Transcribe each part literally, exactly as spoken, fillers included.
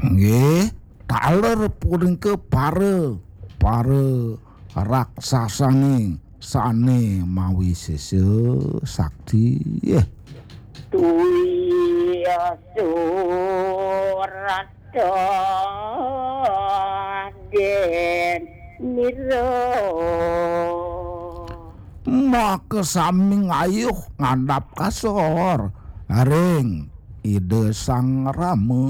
Nggih, taler punika para, para raksasane sane mawi sesa sakti. Nggih. Tuya surat den nira. Maka sami ngayuh ngandhap kasor ring Ida Sang Rama.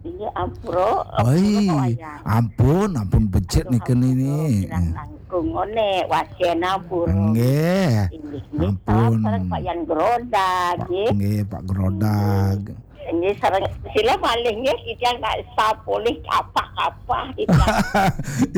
Inggih, ampura, ampura, Oi, Pak Wayan. Ampun, ampun becik. Aduh, nika ampura, nini. Kirang langkung ngene, wasian ampura. Nggih. Inggih, nggih, ampun. Salam sareng Pak Yan Grodag, nggih. Nggih, Pak Grodag. Nggih, sareng sila malih nggih, titiang nak sapulih kapah-kapah, titiang.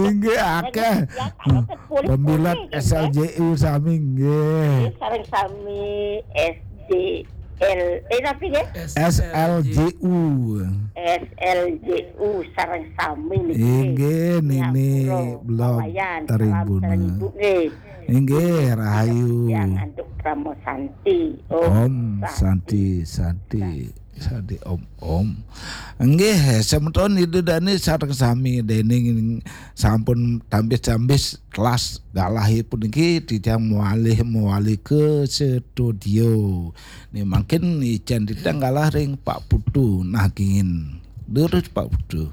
Inggih, akeh. Titiang nak sepulih-pulih, nggih. Pembilat S L J U sami, nggih. Nggih, sareng sami S D L, eh, tapi nggih? S L J U. S L J U sareng sami niki. Inggih, nini Ngapura, blog Pak Wayan, salam Tribuna. Sareng Ibu nggih. Inggih, rahayu. Yang antuk Krama Santi. Om Om Santi, Santi, Santi. Santi, Om, Om. Inggih, semeton Ida Dane sareng sami dening sampun tambis-tambis kelas galahipun niki titiang mawalih mawali ke studio. Nih mangkin ican titiang galah ring Pak Putu nagingin. Durus Pak Putu.